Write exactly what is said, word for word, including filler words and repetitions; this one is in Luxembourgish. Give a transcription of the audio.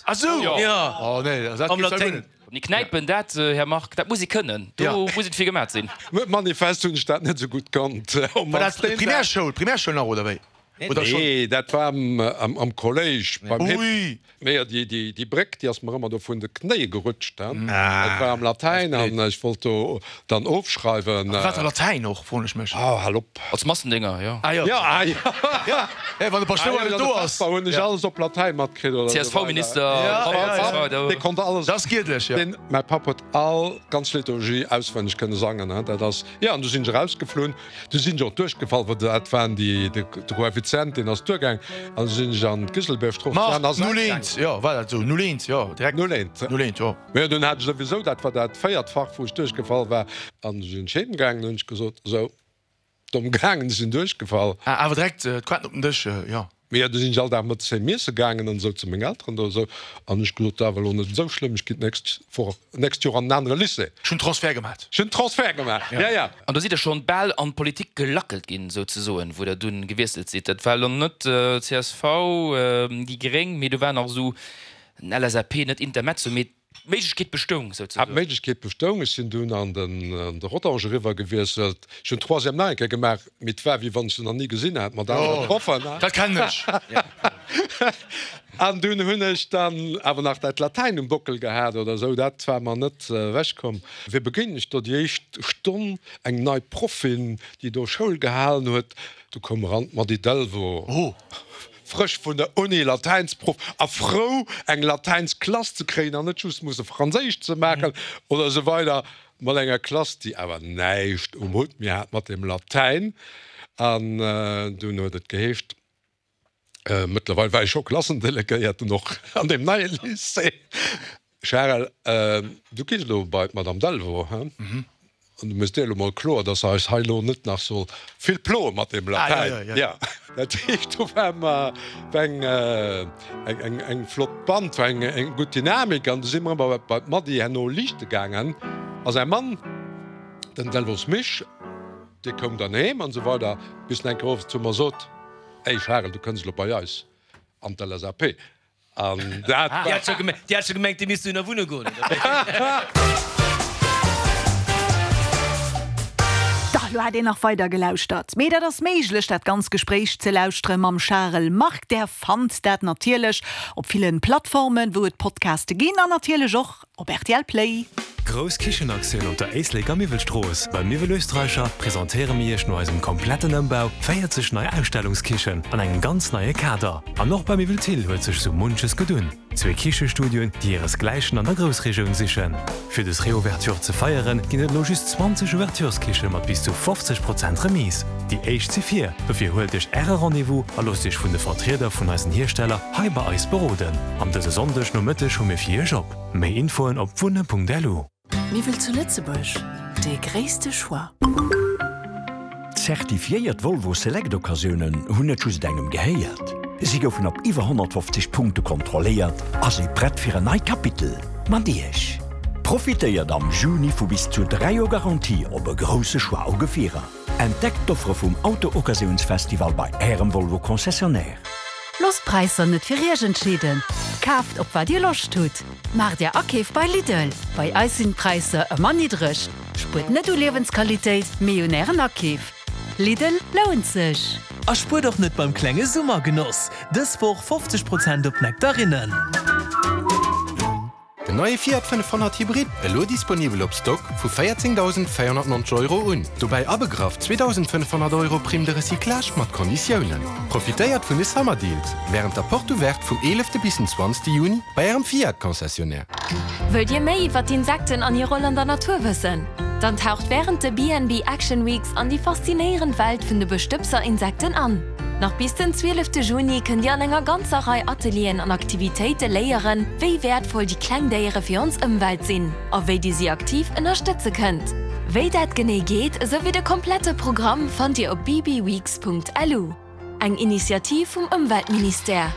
gemat. Ah sou? Jo. Oh nee, dat Am gibt's ja guer Laténg. net. Mee knäipen, dat, Här Margue, dat muss ee kënnen. Do muss et fir gemat sinn. Manifest hunn ech dat net esou gutt kannt. War dat Primärschoul, Primärschoul nach, oder wéi? Oder schon? Nee, dat war am Kolléisch beim Hipp. Ui! Mee déi Bréck, déi ass mer ëmmer do vun de Knéie gerutscht. Dat war am Latäin an ech wollt do dann ofschreiwen. Wat a Latäin och, froen ech mech. Oh, hal op! Als Massendénger, jo. Ah jo. Jo, ah jo. Ja, wann de Paschtouer net do ass. Da hunn ech alles op Latäin matkritt oder esou weider. C S V-Minister, Dee konnt alles. Dat ass giedlech, jo. Deen, mäi Papp huet all ganz Liturgie auswenneg kënne sangen. Dat ass, jo, an du sinn ech erausgeflunn. Du sinn ech och duerchgefall, well dat waren déi, de Koeffizient, deen ass duergaang. An du sinn ech an d'Giselbiergstrooss Ma, an ass null eent, jo, war dat esou? Null eent, jo, direkt. Null eent. Null eent, jo. Mä dunn hat ech souwisou, dat war dat véiert Fach, wou ech duerchgefall war. An du sinn ech heemgaangen, hunn ech gesot, esou, domm gaangen, ech sinn duerchgefall. Ah, awer direkt d'Quatten op den Dësch, jo. Mee jo, du sinn ech all Dag mëttes heem iesse gaangen an esou zu meng Elteren do esou. An ech gesot, dat awer elo net esou schlëmm, ech ginn d'nächst Woch, d'nächst Joer an en anere Lycée. Ech hunn Transfert gemat. Ech hunn Transfert gemaach, ja, ja. An do sidd Der schonn bal an d'Politik gelackelt ginn, souzesoen, wou Der dunn gewiesselt sidd. Dat war elo net C S V, déi Gréng, mee do war nach esou en L S A P, net Intermezzo, mee d'Méiglechkeet bestoung, Ah, souzesoen. d'Méiglechkeet bestoung. Ech sinn dunn an den, an de Rodange eriwwer gewiesselt. Ech hunn d'Troisième nach eng Kéier gemaach, mee et war, wéi wann ech se nach ni gesinn hätt, mat anere Oh, Proffen. dat kennen ech. An dunn hunn ech dann awer nach dat Latäin um Bockel gehat oder esou, dat war mer net ewechkomm. Wéi begéinen ech do déi éischt Stonn eng nei Proffin, déi do Schoul gehalen huet. Du koum eran d'Mady Delvaux. Oh. Frësch vun der Uni, Latäinsproff, a frou eng Latäinsklass ze kréien an net just musse Franséisch ze maachen oder esou weider, mat enger Klass, déi awer näischt um Hutt méi hat mat dem Latäin. An dunn huet et geheescht, mëttlerweil war ech scho Klassendelegéierten och an deem neie Lycée, Charel, du gees elo bei d'Madame Delvaux, he? An du méchs dir elo mol kloer, dass se eis hei elo net nach soll vill ploe mat deem Latäin. Jo, dat heescht, do war mer eng, eng, eng flott Band, war eng, eng gutt Dynamik. An du si mer ëmmer bei d'Mady herno liichte gaangen. A säi Mann, den Delvaux Misch, dee koum dann heem an esou weider, bis en eng Kéier owes zu mer sot, Ey Charel, du kënns elo bei eis an d'L S A P. An dat Déi hat scho gemengt, déi hat scho gemengt, déi misst dohinner wunne goen, oder wéi? Dach, lo hätt een nach weider gelauschtert. Mee dat ass méiglech, dat ganz Gespréich ze lauschtere mam Charel Margue. Där fannt dat natierlech op villen Plattformen, wou et Podcaste ginn an natierlech och op R T L Play. Grouss Kichenaktioun op der Éisleker Miwwelstrooss. Bei Miwwel Österreicher presentéiere mir iech no eisem kompletten Ëmbau véierzeg nei Ausstellungskichen an engem ganz neie Kader. An och bei Miwwel Thill huet sech sou munches gedun. Zwee Kichestudioen, déi hiresgläichen an der Groussregioun sichen. Fir dës Reouverture ze feieren, ginn et elo just zwanzeg Ouvertureskiche mat bis zu fofzeg Prozent Remise. Déi éischt si vir, dofir huelt iech äre Rendez-vous a loosst iech vun de Vertrieder vun eisen Hiersteller hei bei eis beroden. An dëse Sonndeg Nomëtteg hu mir fir iech op. Méi Infoen op wunne Punkt L U. Miwwel zu Lëtzebuerg, dee gréisste Choix. Zertifiéiert Volvo Select Occasiounen hunn net just engem gehéiert. Si goufen op iwwer honnertfofzeg Punkte kontrolléiert a si prett fir en neit Kapitel mat Iech. Profitéiert am Juni vu bis zu dräi Joer Garantie op e grousse Choix u Gefierer. Entdeckt d'Offere vum Auto-Occasiounsfestival bei ärem Volvo Concessionnaire. Loosst d'Präisser net fir iech entscheeden. Kaaft op wat dir Loscht hutt. Maacht är Akeef bei Lidl. Bei eis sinn d'Präisser ëmmer niddreg. Spuert net u Liewensqualitéit, mee un ären Akeef. Lidl lount sech. A spuert och net beim klenge Summergenoss. Dës Woch fofzeg Prozent op Nektarinnen. Den neie Fiat fënnefhonnert Hybrid, elo disponibel op Stock vu véierzéngdausendvéierhonnertnonzeg Euro un. Dobäi abegraff zweedausendfënnefhonnert Euro Prime de recyclage mat Konditiounen. Profitéiert vun de Summer Deals wärend der Porte Ouverte vum eelefte bis den zwanzegste Juni bei ärem Fiat Concessionnaire. Wëllt Dir méi iwwer d'Insekten an hir Roll an der Natur wëssen? Dann taucht wärend de B and B Action Weeks an déi faszinéierend Welt vun de Bestëbser-Insekten an. Nach bis den zwielefte Juni kënnt Dir an enger ganzer Rei Atelieren an Aktivitéite léieren, wéi wäertvoll déi kleng Déiere fir ons Ëmwelt sinn a wéi Dir si aktiv ënnerstëtze kënnt. Wéi dat genee geet, esou wéi de komplette Programm fannt Dir op B B weeks Punkt L U. Eng Initiativ vum Ëmweltministère.